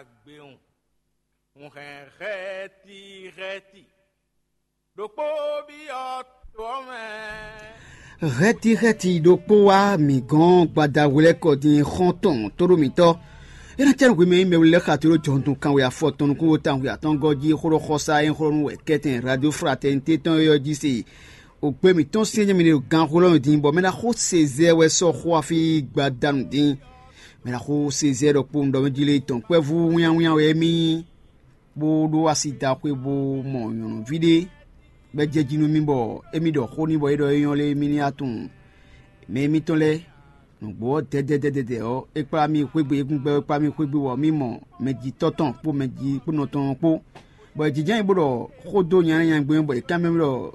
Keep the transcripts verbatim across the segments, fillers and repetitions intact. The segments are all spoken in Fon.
Gbe un, un hɛn hɛti hɛti ɖokpó byɔ́ to ɔ́ mɛ. Hɛti hɛti ɖokpó wá mǐ gɔ́n gbadahwlɛ́kɔ din xɔ́ntɔn tóɖó mǐtɔn. É ná cɛ́ nú hwemɛ e mɛwli lɛ́ɛ xa tló jɔhɔntɔn kanwe afɔ tɔn nukúnwo tawun atɔ́ngɔ́ jí xó ɖɔ xɔsá e xlɔ́ nú wɛ kɛ́tɛn Radio Fraternité tɔn é ɔ́ jí se. Ògbé mǐtɔn syɛ́n jɛ́n mɛ ɖo ganxó lɔ́ mɛ din, bɔ mɛ ná xó Sezɛ́ɛ wɛ sɔ́ xó afí gbadanu din. Mɛ ná xó Sezɛ́ɛ ɖɔkpó un ɖɔ mɛ jí lé tɔn kpɛ́vú wínnyáwínnyá wɛ émí, bó ɖó asi da xwé bó mɔ nyɔ̌nuví ɖé, bɔ é jɛ jí nú mì bɔ émí ɖɔ xó n'i bɔ é ɖɔ é nyɔ́ lé émí ní wá tunwun mɛ émítɔn lɛ́ɛ. Nǔgbó ɔ́, dɛdɛdɛdɛdɛ ɔ́, é kplá mì xwé gbe, é kún gbɛ́ é kplá mì xwé gbe, bɔ mì mɔ mɛjitɔ́ tɔn kpó mɛji kpónɔ tɔn ɔ́ kpó, bɔ è jínjɔ́n nyi bó ɖɔ xó dó nyanya nyanya gbé, bɔ è ká mɛ mì ɖɔ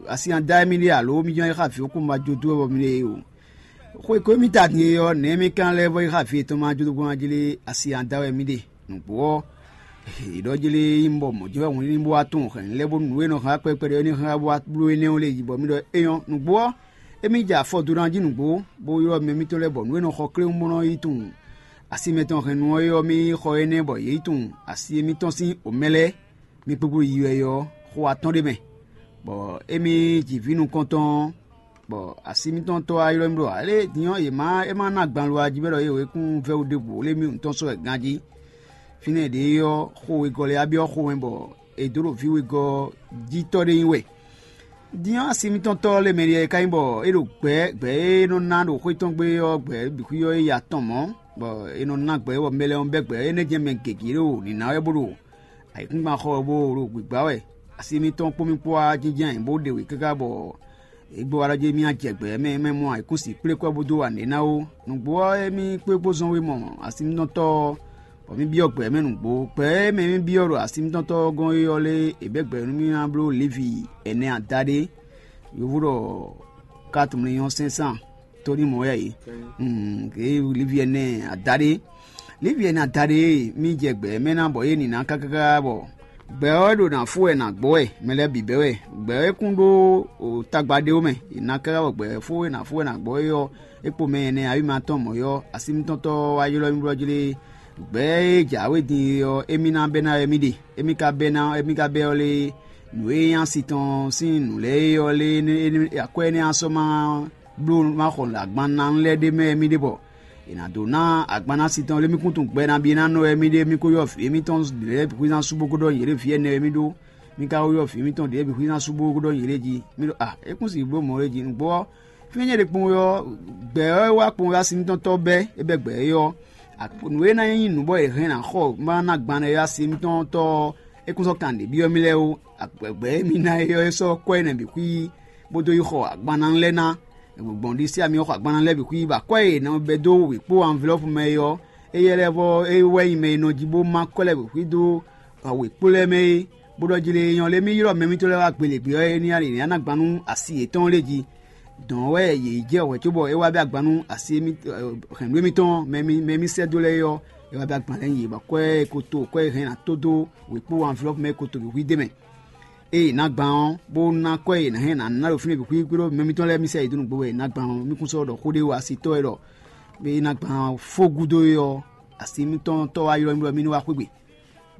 asi nya dá émí ɖe alo mì jɔ́n yi xá vǐ xókún ma jó dó wɛ bɔ mì ɖe o. Xwe ko émí ta din e ɔ́, nɛ̌ émí ka lɛ́ vɔ́ yi xá vǐ yětɔn ma jó dó gbɔn jí lé asi nya dá wɛ mì ɖe? Nǔgbó ɔ́, è ɖɔ jí lé nyí bɔ mɔ̌ jɛ́n wɛ hun ní bó wá tunwun hɛ̌nnu lɛ́ɛ bónú nǔ e nɔ hɛn wá kpɛɖekpɛɖe ɔ́ ní hɛn wá bló énɛ́ ɔ́ lě jí, bɔ mì ɖɔ é nyɔ́. Nǔgbó ɔ́, émí jɛ afɔ dó ná jí nǔgbó, bó ylɔ́ mɛ mitɔn lɛ́ɛ bɔ nǔ e nɔ xɔ kléwún bó nɔ́ yi tunwun asi mɛtɔn hɛnnu ɔ́ é ɔ́, mì yi xɔ énɛ́ bɔ yě yi tunwun asi émítɔn sín omɛ lɛ́ɛ. Mi kpékpé yi wɛ é ɔ́, xó atɔ́ɔ́n ɖé mɛ, bɔ émí ji vǐ nukɔntɔn ɔ́, bɔ asi mitɔn tɔ́ wá ylɔ́ mì ɖɔ alé din ɔ́, yě má é má ná gban lo ají mɛ ɖɔ yě wěkún vɛ́wú ɖěbǔ lé mì nǔtɔn sɔ́ wɛ ganjí. Fínɛ́ ɖě ɔ́, xó wegɔ́ lɛ́ɛ wá byɔ́ xomɛ bɔ è dǒ ɖo vǐ wegɔ́ jí tɔ́ ɖé nyi wɛ. Din ɔ́, asi mitɔn tɔ́ lé mɛ ɖíe é ka nyí bɔ é ɖo gbɛ̌ gbɛ̌ e nɔ ná ɖo xwé tɔn gbe ɔ́ gbɛ̌ bǐ xwí ɔ́ é yi atɔn mɔ̌, bɔ è nɔ ná gbɛ̌ bɔ mɛ lɛ́ɛ ɔ́ bɛ́ gbɛ̌ énɛ́ jɛ́n mɛ gěgé ɖo nǐ ná wɛ bó ɖo ayǐkúngban xɔ ɔ́ bó ɖo gbǐgbá wɛ. Asi mitɔn kpó mì kpó wá jínjɔ́n ayǐ bó ɖe wě káká bɔ é gbɔ wá ɖɔ jí mì jɛ gbɛ̌ mɛ mɛ mɔ ayǐkúngban kplé kɔ́ bó dó wa nǔɖé ná ó. Nǔgbó ɔ́, émí kpé kpó zɔn wé mɔ asi mitɔn tɔ́ ɔ́, bɔ mì byɔ́ gbɛ̌ mɛ nǔgbó. Gbɛ̌ e mɛ mì byɔ́ ɖo asi mitɔn tɔ́ ɔ́ gɔ́n é ɔ́ lé è bɛ́ gbɛ̌ nú mì ná bló Levi ɛnɛ adaɖé, yovo ɖɔ quatre millions cinq cent tóní mɔ̌ wɛ é. Levi ɛnɛ adaɖé, Levi ɛnɛ adaɖé e mì jɛ gbɛ̌ mɛ ná bɔ é nǐ ná káká bɔ gbɛ̌ ɔ́ ɖo nǎ fó wɛ nǎ gbɔ wɛ, mɛ lɛ́ɛ bǐ bɛ́ wɛ. Gbɛ̌ ɔ́ é kún ɖó tagba ɖé ó mɛ, è nǎ káká bɔ gbɛ̌ fó e nǎ fó wɛ nǎ gbɔ é ɔ́, é kpo mɛ ɛnɛ awǐma tɔn mɔ̌ ɔ́, asi mitɔn tɔ́ wá ylɔ́ mì blɔ́ jí lé. Gbɛ̌ e jǎwe din é ɔ́, émí ná bɛ́ ná wɛ mì ɖe. Émí ka bɛ́ ná émí ka bɛ́ ɔ́ lé, nǔ e nyí asi tɔn sín nǔ lɛ́ɛ é ɔ́ lé, akwɛ́ énɛ́ ɔ́ sɔ́ ma bló ma xɔ agban ná lɛ́ɛ ɖ'é mɛ wɛ mì ɖe bɔ è nǎ dó ná agban ná asi tɔn lé. Mì kún tunwun gbɛ nabí ná nɔ wɛ mì ɖe, mì ko ylɔ́ vǐ émítɔn ɖě lɛ́ɛ bǐ xwíná sú bó ko ɖɔ yě ɖo vǐ ɛnɛ wɛ mì ɖó. Mì ka ko ylɔ́ vǐ émítɔn ɖě lɛ́ɛ bǐ xwíná sú bó ko ɖɔ yě ɖe jí. Mì ɖɔ a é kún sixú bló mɔ̌ ɖé jí nǔgbó ɔ́, fínɛ́ nyɛ ɖe kpowun ɔ́, gbɛ̌ ɔ́ é wá kpowun ɔ́ asi mitɔn tɔ́ bɛ́ é bɛ́ gbɛ̌ é ɔ́, nǔ e ná nyí nǔ bɔ è hɛn ná xɔ má ná gban ɛ ɔ́, asi mitɔn tɔ́ ɔ́, é kún sɔ́ kan ɖě byɔ́ mì lɛ́ɛ ó. Gbɛ̌ e mi ná é ɔ́, é sɔ́ kɔ́ énɛ́ bǐ xwí bó dó yi xɔ agbanna lɛ́ɛ ná. Gbɔn ɖisí ami xɔ agbanna lɛ́ɛ bǐ xwí, bɔ akwɛ́ e è nɔ bɛ́ dó wěkpó anvlɔ́pu mɛ é ɔ́, éyɛ́ lɛ́ɛ vɔ́ é wɛ nyí mɛ e nɔ jí bó má kɔ́ lɛ́ɛ bǐ xwí dó wěkpó lɛ́ɛ mɛ é, bó ɖɔ jí lé nyɔ́ lé mì ylɔ́ mɛ mitɔ́ lɛ́ɛ wá gbelegbé ɔ́, é ní alǐ ná gban nú asi yětɔn lé jí. Dɔ̌n wɛ yě yi jɛ wɛ̌ cóbɔ é wá bɛ́ agban nú asi hɛ̌nnu émítɔn mɛ mì sɛ́ dó lɛ́ɛ é ɔ́, é wá bɛ́ agban lɛ́ɛ nyi yě bɔ akwɛ́ e ko to akwɛ́ e hɛn ná tó dó wěkpó anvlɔ́pu mɛ e ko to bǐ xwí d'é mɛ. Ée è nǎ gban ɔ́, bó ná akwɛ́ e è nǎ hɛn ná ná ɖo fínɛ́ bǐ xwí kpódó mɛ mitɔn lɛ́ɛ mì sɛ yě dó nǔgbó wɛ è nǎ gban ɔ́, mì kún sɔ́ ɖɔ xó ɖé wá asitɔ́ wɛ ɖɔ é ná gban fó gúdo é ɔ́, asi mitɔn tɔ́ wá ylɔ́ mì ɖɔ mì ní wá xwé gbe.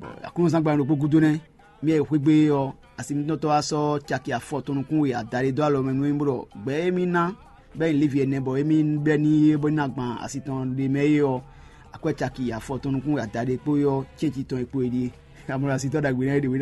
Bɔ aklúnɔzán gban ɖokpó gúdo nɛ́, mì e xwé gbe é ɔ́, asi mitɔn tɔ́ wá sɔ́ caki afɔ tɔn nukún e adaɖé dó alɔ mɛ nú mì bó ɖɔ gbɛ̌ e mì ná bɔ é nyí Levi ɛnɛ bɔ émí bɛ́ n'i é bó ná gban asi tɔn ɖé mɛ é ɔ́, akwɛ́ caki afɔ tɔn nukún e adaɖé kpó é ɔ́, cɛ́nci tɔn e kpo é ɖíe. Amlɔ asitɔ́ ɖagbe nɛ́ é ɖě we